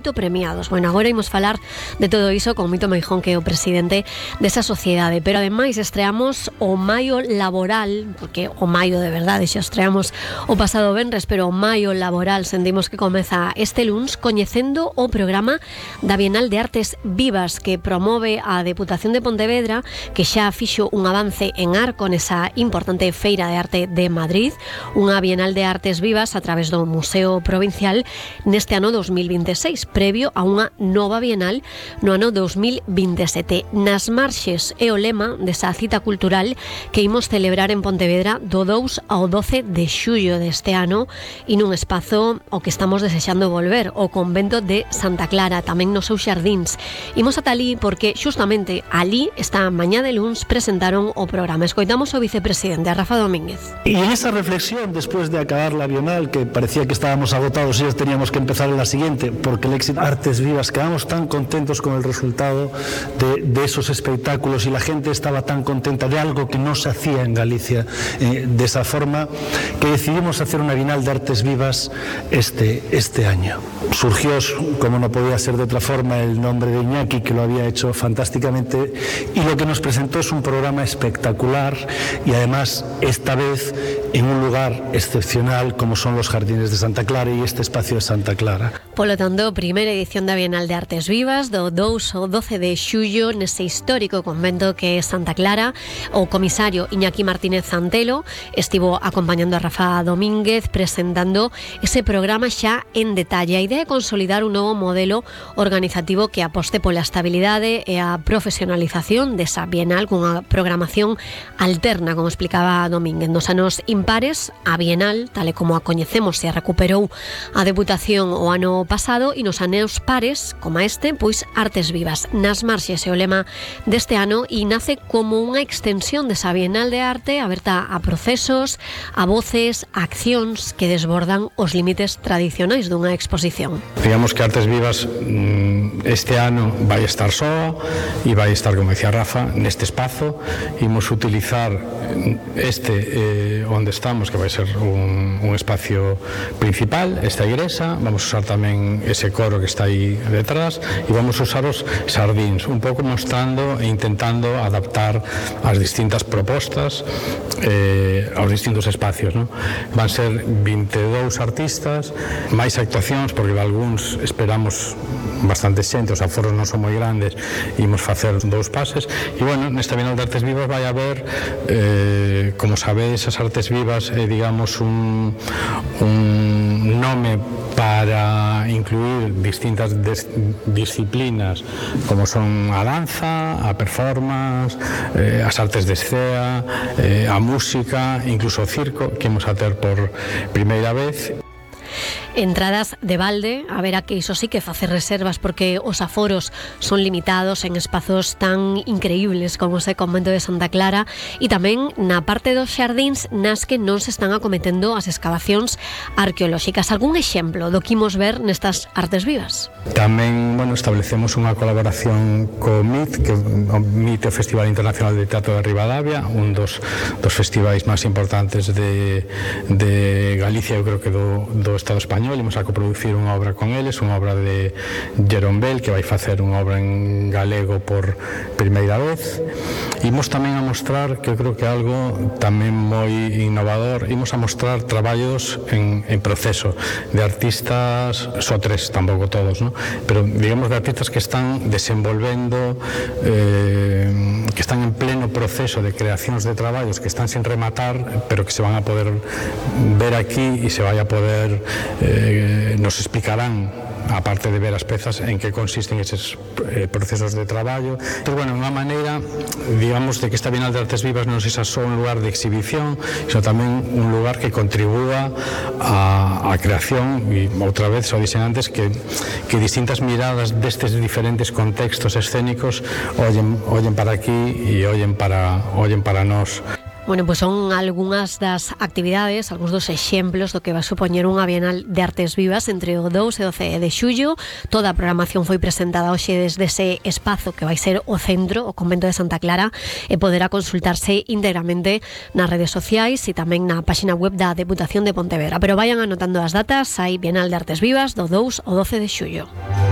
premiados. Bueno, agora imos falar de todo iso con Mito Meijón, que é o presidente desa sociedade, pero ademais estreamos o Maio Laboral, porque o Maio de verdade xa estreamos o pasado venres, pero o Maio Laboral sentimos que comeza este luns coñecendo o programa da Bienal de Artes Vivas que promove a Deputación de Pontevedra, que xa fixo un avance en Arco nesa importante feira de arte de Madrid, unha Bienal de Artes Vivas a través do Museo Provincial neste ano 2026, previo a unha nova bienal no ano 2027. Nas marxes é o lema desa cita cultural que imos celebrar en Pontevedra do 2 ao 12 de xullo deste ano e nun espazo ao que estamos desexando volver, o convento de Santa Clara, tamén nos seus xardíns. Imos ata ali porque xustamente ali, esta mañá de luns, presentaron o programa. Escoitamos o vicepresidente, a Rafa Domínguez. Y en esa reflexión, después de acabar la bienal, que parecía que estábamos agotados y ya teníamos que empezar en la siguiente, porque el éxito Artes Vivas, quedamos tan contentos con el resultado de esos espectáculos y la gente estaba tan contenta de algo que no se hacía en Galicia de esa forma, que decidimos hacer una Bienal de Artes Vivas este año. Surgió, como no podía ser de otra forma, el nombre de Iñaki, que lo había hecho fantásticamente, y lo que nos presentó es un programa espectacular y además esta vez en un lugar excepcional como son los Jardines de Santa Clara y este espacio de Santa Clara. Polo tanto, primeira edición da Bienal de Artes Vivas do 2 ao 12 de xullo nese histórico convento que é Santa Clara. O comisario Iñaki Martínez Antelo estivo acompañando a Rafa Domínguez presentando ese programa xa en detalle. A idea é consolidar un novo modelo organizativo que aposte pola estabilidade e a profesionalización desa Bienal cunha programación alterna, como explicaba Domínguez. Nos anos impares, a Bienal, tal e como a coñecemos, se a recuperou a Deputación o ano pasado, e nos anos pares, como este, pois Artes Vivas. Nas marxes é o lema deste ano e nace como unha extensión desa Bienal de Arte aberta a procesos, a voces, a accións que desbordan os límites tradicionais dunha exposición. Digamos que Artes Vivas este ano vai estar só e vai estar, como decía Rafa, neste espazo. Imos utilizar onde estamos, que vai ser un espacio principal, esta igrexa. Vamos usar tamén ese coro que está aí detrás e vamos usar os xardíns, un pouco mostrando e intentando adaptar as distintas propostas aos distintos espacios, ¿no? Van ser 22 artistas, máis actuacións, porque algúns esperamos bastante xente, os aforos non son moi grandes, imos facer 2 pases, e bueno, nesta Bienal de Artes Vivas vai haber, como sabedes, as Artes Vivas é, digamos, un nome para incluir distintas disciplinas como son a danza, a performance, as artes de escena, a música, incluso o circo, que imos a ter por primeira vez. Entradas de balde, a ver, que iso sí que facer reservas porque os aforos son limitados en espazos tan increíbles como ese convento de Santa Clara, e tamén na parte dos xardíns nas que non se están acometendo as excavacións arqueolóxicas. Algún exemplo do que imos ver nestas Artes Vivas? Tamén, bueno, establecemos unha colaboración co MIT, que o MIT é o Festival Internacional de Teatro de Ribadavia, un dos festivais máis importantes de Galicia, eu creo que do Estado español. Imos a coproducir unha obra con eles, unha obra de Jerón Bell, que vai facer unha obra en galego por primeira vez. Imos tamén a mostrar, que eu creo que é algo tamén moi innovador, imos a mostrar traballos en proceso de artistas, só 3, tampouco todos, ¿no? Pero digamos de artistas que están desenvolvendo, que están en pleno proceso de creacións de traballos que están sin rematar, pero que se van a poder ver aquí e se vai a poder nos explicarán, aparte de ver as pezas, en que consisten eses procesos de traballo. Pero, bueno, unha maneira, digamos, de que esta Bienal de Artes Vivas non sexa só un lugar de exhibición, sino tamén un lugar que contribúa á creación, e outra vez, o dixen antes, que distintas miradas destes diferentes contextos escénicos ollen para aquí e ollen para nós. Bueno, pues son algunhas das actividades, algúns dos exemplos do que vai supoñer unha Bienal de Artes Vivas entre o 2 e o 12 de xullo. Toda a programación foi presentada hoxe desde ese espazo que vai ser o centro, o convento de Santa Clara, e poderá consultarse íntegramente nas redes sociais e tamén na páxina web da Deputación de Pontevedra. Pero vayan anotando as datas, hai Bienal de Artes Vivas do 2 ao 12 de xullo.